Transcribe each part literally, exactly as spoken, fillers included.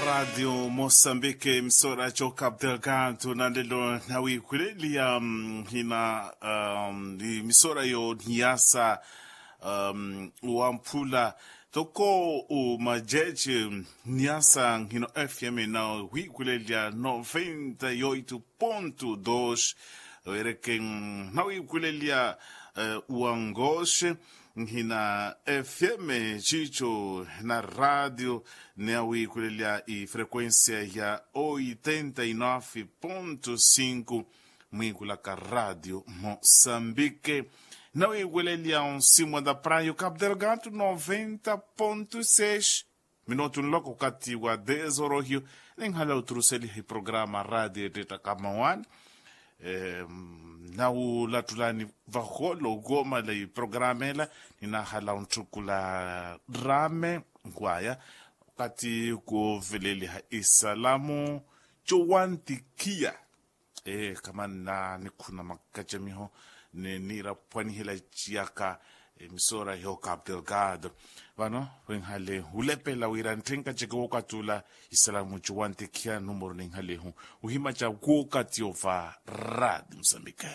Ratio mosambike emisora co cap delgado na lelo nawiikhuleliya hina emisora yo niyasa wamphula toko umajeje niyasa hino fm nawiikhuleliya noventa y oito ponto dos. Wereke nawiikhuleliya wangoxe nhina fm cico na ratio nawiikhuleliya ifrequencia ya oitenta y nove ponto cinco mwiikhulaka ratio mosambike. Nawiikhuleliya onsimu anda prayo cap delgado noventa ponto seis. Minutu nloko okathi wa dez orohiyo ninhala oturuseliha iprograma ratio etettaka mawani nawulattulani vaholo okomala iprograma ela. Ninahala ontthukula rame waya okathi kooveleliha isalamu cowantikhiya. Ee khamanna nikhuna makacamiho ni niiraphwanihela ciyaka emisora yo cap delgado. Vano wenhale hulepela wira ntthenka ceke wookatula isalamu cowantikhiya numero ninhalehu uhima ca wookati ova ratio mosambike.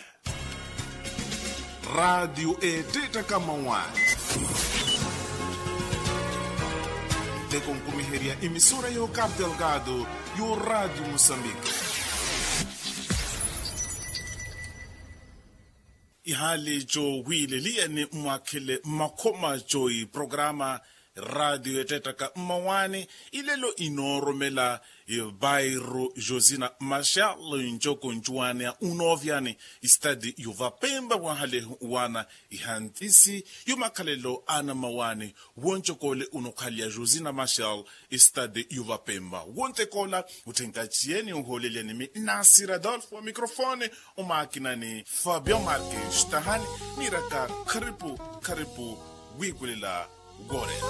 Ratio etettaka mawani nteko nkumiherya emisora yo cap delgado yo ratio mosambike. Ihali cowiileliyani mwakhele makhoma co iprograma ratio etettaka mmawani. Ilelo inooromela bairo josina machal ncoko ncuwaneya unoovyani istadi yovapemba wahalehu wana ihantisi yomakhalelo ana mmawani. Woncokole unokhaliya josina machal istadi yovapemba wontekola. Utthenka ciyeni ohoolelyanimi nasir adolfo wa microfone omaakina ni fabio marques tahani. Niiraka kharipu kharipu wiikulela woorela.